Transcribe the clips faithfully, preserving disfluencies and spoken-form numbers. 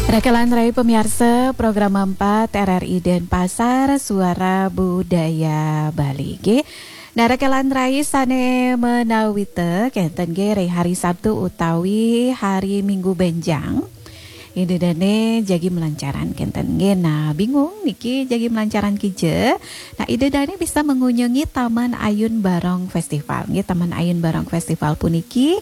Rakelan rai pemiarsa program empat R R I Denpasar, Suara Budaya Bali. Nggih. Nah, rakelan rai sane menawita kenten nggih, ring hari Sabtu utawi hari Minggu benjang. Ida dane jagi melancaran kenten nggih. Nah, bingung niki jagi melancaran kija. Nah, Ida dane bisa mengunjungi Taman Ayun Barong Festival. Nggih, Taman Ayun Barong Festival puniki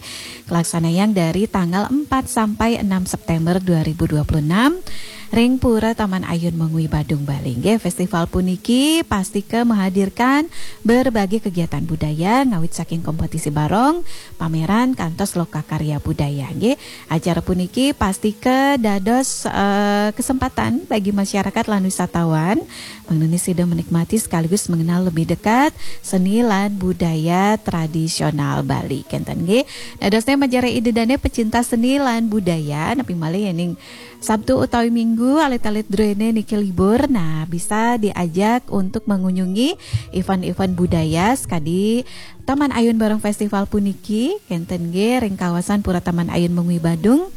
kelaksanayang dari tanggal empat sampai enam September dua ribu dua puluh enam ring Pura Taman Ayun Mengwi Badung, Bali. Nggih, festival puniki pastika menghadirkan berbagai kegiatan budaya ngawit saking kompetisi barong, pameran, kantos loka karya budaya. Nggih, acara puniki pastika dados, eh, kesempatan bagi masyarakat lan wisatawan mangdane sida menikmati sekaligus mengenal lebih dekat seni lan budaya tradisional Bali. Kenten nggih. Dadosne majeng ida dane pecinta seni lan budaya, napi malih yening Sabtu utawi Minggu alit-alit druene niki libur, nah, bisa diajak untuk mengunjungi event-event budaya sekadi Taman Ayun Barong Festival puniki, kenten nggih, ring kawasan Pura Taman Ayun Mengwi Badung.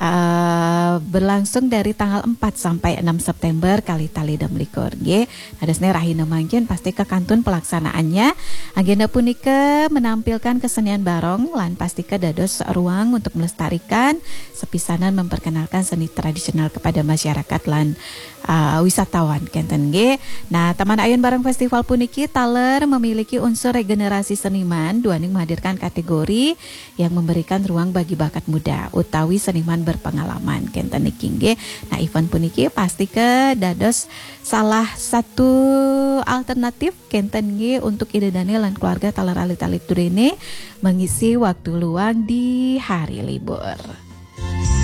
Eh, berlangsung dari tanggal empat sampai enam September kalih tali enam likur nggih. Dadosne rahina mangkin pastika kantun pelaksanaannya. Agenda punika menampilkan kesenian barong lan pastika dados ruang untuk melestarikan sepisanan memperkenalkan seni tradisional kepada masyarakat lan, uh, wisatawan kenten nggih. Nah, Taman Ayun Barong Festival puniki taler memiliki unsur regenerasi seniman, duaning menghadirkan kategori yang memberikan ruang bagi bakat muda utawi seniman berpengalaman kenten niki nggih. Nah, event puniki pastika dados salah satu alternatif kenten nggih untuk ida dane lan keluarga taler alit-alit druene mengisi waktu luang di hari libur.